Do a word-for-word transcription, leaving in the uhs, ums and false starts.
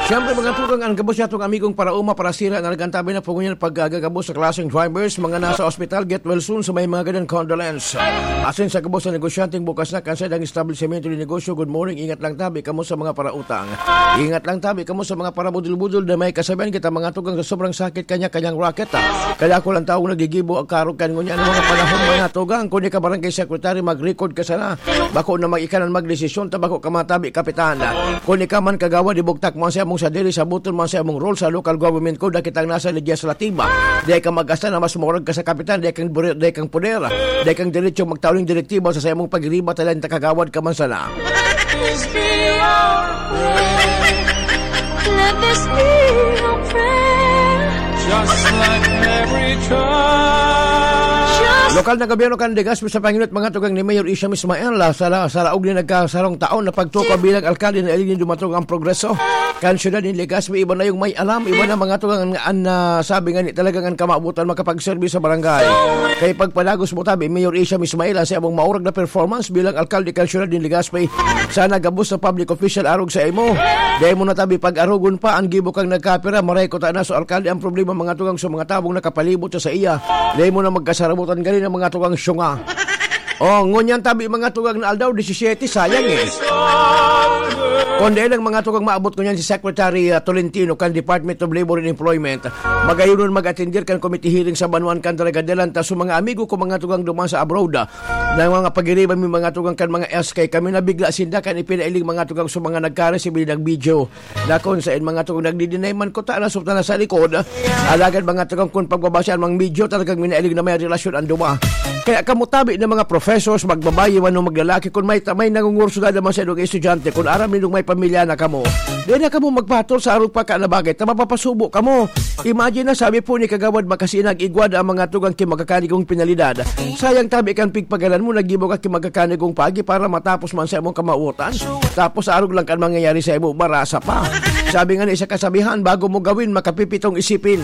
Siyempre, mga tugang, ang gabos niyatong amigong paraoma, parasira na nagkantabi na po ngunyan pagkagagabos sa klaseng drivers, mga nasa ospital, get well soon sa may mga ganyan condolence. Asin sa gabos na negosyanteng bukas na kansay ang establisimento ni negosyo, good morning, ingat lang tabi kamo sa mga parautang. Ingat lang tabi kamo sa mga parabudol-budol na may kasabihan kita, mga tugang, sa sobrang sakit kanya-kanyang racket. Ah. Kaya ako lang taong nagigibo ang karog kan ngunyan ng mga panahon, mga tugang. Kung ika barangay secretary, mag-record ka sana. Bako na mag-ikanan magdesisyon, ta bako ka matabi, kapitan. Kung ika man kagawad, ibugtak mo ang sayamong sadiri, sabuton mo ang sayamong role sa local government ko, dakitang nasa legislatiba. Di ka magkasta na mas maurag ka sa kapitan, di kang bure-, di kang poder. Di kang diretso magtaon ng direktiba sa sayamong pagiriba, talenta kagawad ka man sana. Let this be our prayer. Let this be our prayer. Just like every child. Just Lokal na gobyerno kan Legazpi sa panginot, mga tugang, ni Mayor Isham Ismael, ah, sa la-, sa laog ni nagkasarong taon na pagtukaw bilang alkalde, nailing nin dumatong ang progreso kan syudad nin Legazpi. Iba na yung may alam, iba na, mga tugang, an, an, ah, sabi nga ni talagang ang kamabutan makapagserbi sa barangay. Kaya pagpadagos mo tabi, Mayor Isham Ismael, ang sayamong maurag na performance bilang alkalde kan syudad nin Legazpi. Sana gabos sa public official arog sa imo. Dai mo na tabi pag-arogon pa ang gibo kang nagkapira, maray ko ta na sa alkalde ang problema, mga tugang, sa mga tabong nakapalibot sa, sa iya. Dai mo na magkasarabutan ganin ang mga tugang syunga. Oh, ngunyan tabi, mga tugang, na aldaw, disisiyete, sayang eh. Kung dai lang, mga tugang, maabot ngunyan si Secretary, ah, Tolentino kan Department of Labor and Employment, magayon mag-atindir kan committee hearing sa banwaan kan Dalaga de Lantas. So, mga amigo ko, mga tugang, duman sa abroad, ah, na mga pagiriba mi, mga tugang, kan mga S K, kami nabigla sinda kan ipinailing, mga tugang, sa mga nagkaresibi ng video. Dakon sa in, mga tugang, nagdi-deny man ko ta na sa likod. Alagad, mga tugang, kung pagbabasaan mang medyo talagang minailing na may relasyon ang duwa. Kaya kamo tabi na mga professors, magbabayi man o maglalaki, kung may, may nangungurso na naman sa inyong estudyante, kung aram nindong may pamilya na kamo, di na kamo magpahatol sa arog pa ka na bagay, ta mapapasubo kamo. Imagine na, sabi po ni Kagawad Makasinag, igwad ang mga tugang ki magkakanigong pinalidad. Sayang tabi kan pigpagalan mo, nagibo ka ki magkakanigong pagi para matapos man sa imong kamawotan. Tapos arog lang kan mangyayari sa imo, marasa pa. Sabi nga ni sa kasabihan, bago mo gawin, makapipitong isipin.